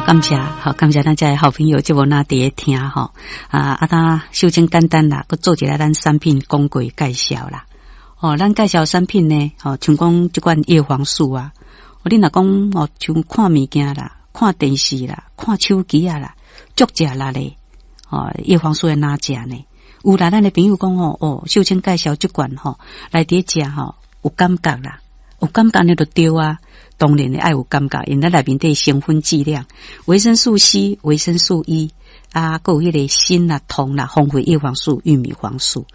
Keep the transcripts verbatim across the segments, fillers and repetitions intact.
感謝，好感謝咱遮的好朋友這無哪佇咧聽吼。啊，啊，他秀清簡單啦，閣做一下咱產品廣告介紹啦。哦，咱介紹產品呢，吼，像講這款葉黃素啊，你若講哦，像看物件啦，看電視啦，看手機啊啦，足食力咧，哦，葉黃素會哪食呢？有啦，咱的朋友講哦，哦，秀清介紹這款吼，來佇咧食吼，有感覺啦，有感覺呢就對啊。當然愛有感覺，因為內面底成分劑量，維生素 C、維生素 E 啊，閣有彼個鋅啦、銅啦、豐富葉黃素、玉米黃素。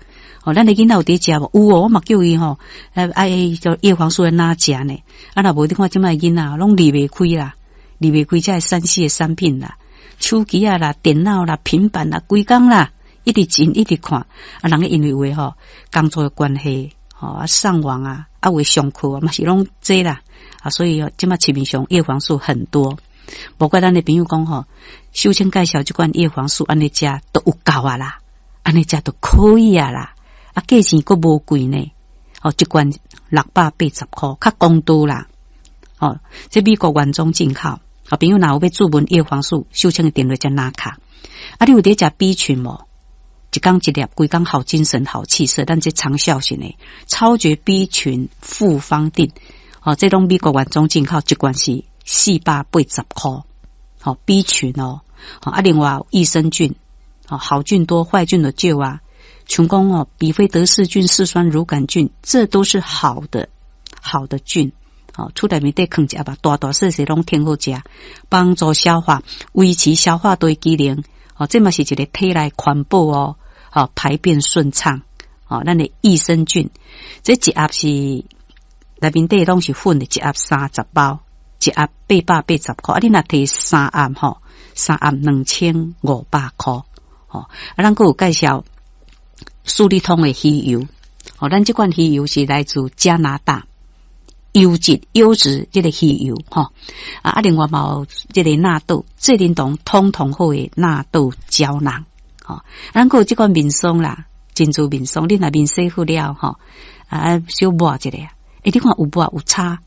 哦，咱的囡仔有佇食無？有哦，我嘛叫伊吼，愛叫葉黃素會哪食呢？啊，若無你看這擺囡仔攏離袂開啦，離袂開這个三 C 的產品啦，手機啊啦、電腦啦、平板啦，規工啦，一直進一直看。啊，人因為有的吼工作的關係，吼啊上網啊，啊有的上課啊，嘛是攏這啦。啊，所以這擺市面上葉黃素很多，無怪咱的朋友講吼，秀清介紹這款葉黃素按呢食都有夠啊啦，按呢食都可以啊啦，啊價錢閣無貴呢，哦，一罐六百八十箍，較公道啦，哦，這美國原裝進口，好朋友若有欲注文葉黃素，秀清的電話才拿卡，啊，你有佇食 B 群無？一工一粒，規工好精神、好氣色，咱這長效型的超絕 B 群複方錠。哦，這攏美國原裝進口，一罐是四百八十箍。好 B 群哦，啊，另外益生菌，哦，好菌多，壞菌就少啊。像講哦，比菲德氏菌、嗜酸乳桿菌，這都是好的好的菌。哦，厝內面底囥一盒吧，大大細細攏挺好食，幫助消化，維持消化道機能。哦，這嘛是一個體內環保哦，好排便順暢。哦，咱的益生菌，這一盒是內面底攏是粉的，一盒三十包，一盒八百八十箍。啊，你若提三盒吼，三盒兩千五百箍。吼，啊，咱閣有介紹舒利通的魚油。哦，咱這款魚油是來自加拿大，優質優質這個魚油吼。啊，啊，另外嘛有這個納豆，濟霖堂通通好的納豆膠囊。吼，咱閣有這款面霜啦，珍珠面霜，你若面洗好了吼，啊，小抹一下，欸，你看有抹有差，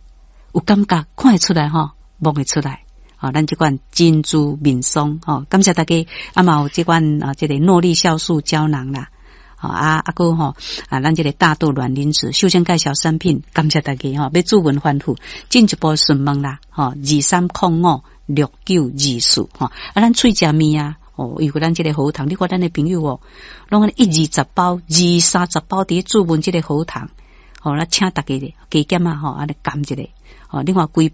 有感覺，看會出來吼，摸會出來。吼，咱這款珍珠面霜吼，感謝大家，啊嘛有這款啊，這個諾麗酵素膠囊啦。吼啊啊閣吼啊，咱這個大豆卵磷脂，首先介紹產品，感謝大家吼，欲注文反覆進一步詢問啦，吼二三空五六九二四吼，啊，咱喙食麵啊，哦，因為咱這個喉糖，你看咱的朋友哦，攏按呢一二十包、二三十包佇咧注文這個喉糖，吼，咱請大家加減啊吼，按呢減一下，吼，另外規